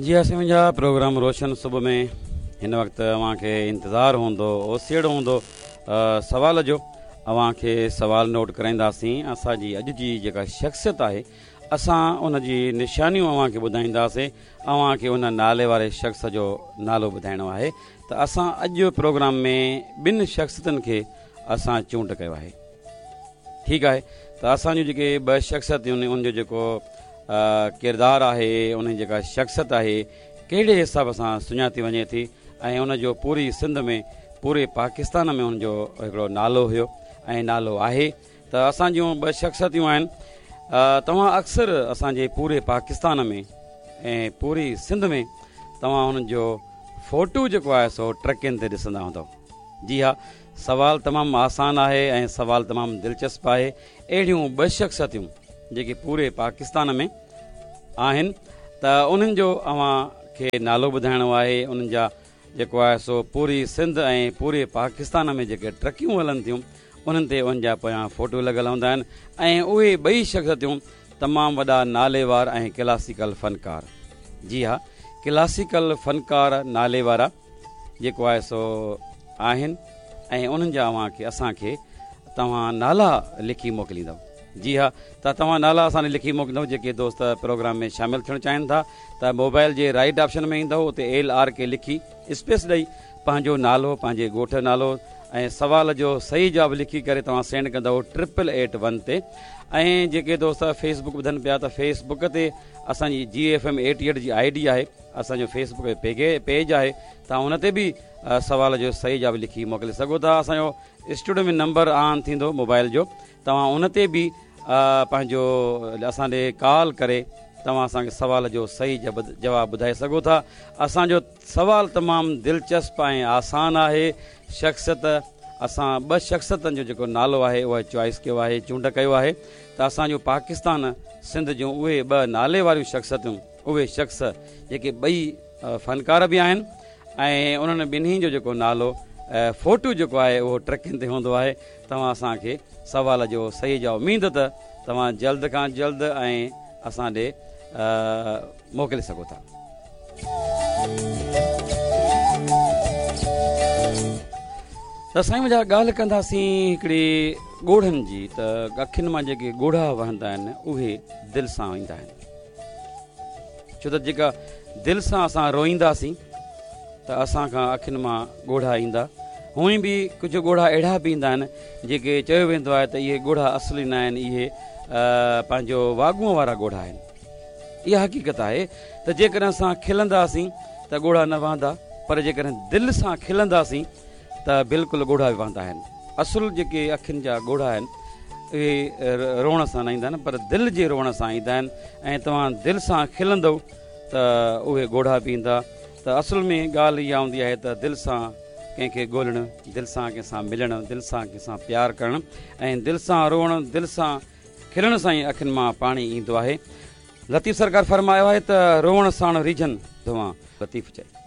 جي ها سائين منهنجا پروگرام روشن صبح ۾ هن وقت اوهان کي انتظار هوندو اوسيئڙو هوندو سوال جو اوهان کي سوال نوٽ ڪرائينداسين اسان جي اڄ جي جيڪا شخصيت آهي اسان ان جي نشانيون اوهان کي ٻڌائينداسين اوهان کي ان نالي واري شخص جو نالو ٻڌائڻو آهي ته اسان اڄ پروگرام ۾ ٻن شخصيتن کي اسان چونڊ ڪيو آهي ٺيڪ آهي ته اسان جون جيڪي ٻه شخصيتون آهن ان جو جيڪو ڪردار آهي ان جي جيڪا شخصيت آهي ڪهڙي حساب سان سڃاتي وڃي ٿي ۽ ان جو پوري سنڌ ۾ پوري پاڪستان ۾ ان جو هڪڙو نالو هيو ۽ نالو آهي ته اسان جون ٻه شخصيتون آهن توهان اڪثر اسان جي پوري پاڪستان ۾ ۽ پوري سنڌ ۾ توهان انهن جو فوٽو جيڪو آهي سو ٽرڪين تي ڏسندا هوندؤ جي ها سوال تمام آسان آهي ۽ سوال تمام دلچسپ آهي. اهڙيون ٻه شخصيتون جيڪي پوري پاڪستان ۾ آهن ته انهن جو اوهان کي نالو ٻڌائڻو آهي انهن جا جيڪو آهي سو پوري سنڌ ۽ پوري پاڪستان ۾ جيڪي ٽرڪيون هلن ٿيون انهن تي انهن جا پويان فوٽو لڳل هوندا آهن ۽ اهي ٻئي شخصيتون تمام وڏا ناليوار ۽ ڪلاسيڪل فنڪار جي ها ڪلاسيڪل فنڪار ناليوارا جيڪو آهي سو آهن ۽ انهن جا اوهان کي اسان کي توهان نالا لکي موڪليندؤ جي ها ته توهان نالا اسان ڏي لکي موڪليندؤ جيڪي دوست پروگرام ۾ شامل ٿيڻ چاهين ٿا ته موبائل جي رائيٽ آپشن ۾ ايندؤ اتي ايل آر ڪي لکي اسپيس ڏئي پنهنجو نالو پنهنجي ڳوٺ جو نالو ۽ سوال جو صحيح جواب لکي ڪري توهان سينڊ ڪندؤ ٽرپل ايٽ ون تي ۽ جيڪي دوست فيس بڪ ٻڌن پيا ته فيس بڪ تي اسان جي جي ايف ايم ايٽي ايٽ جي I D آهي اسان جو فيس بڪ پيج آهي توهان ان تي به سوال جو صحيح جواب لکي موڪلي سگهو ٿا اسان جو اسٽوڊيو ۾ نمبر آن ٿيندو موبائل جو توهان ان تي به پنهنجو اسان ڏي ڪال ڪري توهان اسان کي سوال جو صحيح جواب ٻڌائي سگهو ٿا اسان جو سوال تمام دلچسپ ۽ آسان آهي شخصيت اسان ٻه شخصيتن جو جيڪو نالو آهي اهو چوائس ڪيو آهي چونڊ ڪيو آهي ته اسان جو پاڪستان سنڌ جون اهي ٻه نالي واريون شخصيتون اهي شخص جيڪي ٻئي فنڪار به آهن ۽ انهن ٻنهي جو جيڪو نالو فوٽو جيڪو آهي اهو ٽرڪين تي هوندو آهي توهان اسان کي سوال جو صحيح جواب اميد ته توهان جلد کان جلد ۽ اسان ڏي موڪلي سگهو ٿا. ته سائين منهنجا ڳالهه ڪنداسين هڪڙي ڳوڙهن جي ته اکين مان جيڪي ڳوڙها وهندا آهن اهي دل سان ايندا آهن ڇو ته جيڪا دل سان اسان روئينداسين ته اسان کان اکين مان ڳوڙها ايندا. هونئن به ڪجهه ڳوڙها اهڙا به ايندا آهن جيڪي چيو ويندو آهي ته اهي ڳوڙها اصلي نه آهن اهي پنهنجو واڳونء وارا ڳوڙها آهن. اها حقيقت آهي ته جيڪڏهن اسان کلنداسين ته ڳوڙها نه وهندا پر جيڪڏهن دل سان کلنداسين ته بلڪل ڳوڙها به وهندا آهن. اصل جيڪي اکين جا ڳوڙها آهن اهي روئڻ سان نه ايندا آهن پر دل جي روئڻ سان ايندا آهن ۽ توهان دل سان کلندؤ ته اهي ڳوڙها به ايندا ته اصل ۾ ڳالهه اها هوندي آهي ته دل سان ڪنهن کي ڳولڻ، دل سان ڪنهن سان ملڻ، دل سان ڪنهن سان پيار ڪرڻ ۽ دل سان روئڻ، دل سان کلڻ سان ئي اکين مان پاڻي ايندو آهي. لطيف سرڪار فرمايو آهي ته روئڻ ساڻ ريجهن ڌوان. لطيف چئي.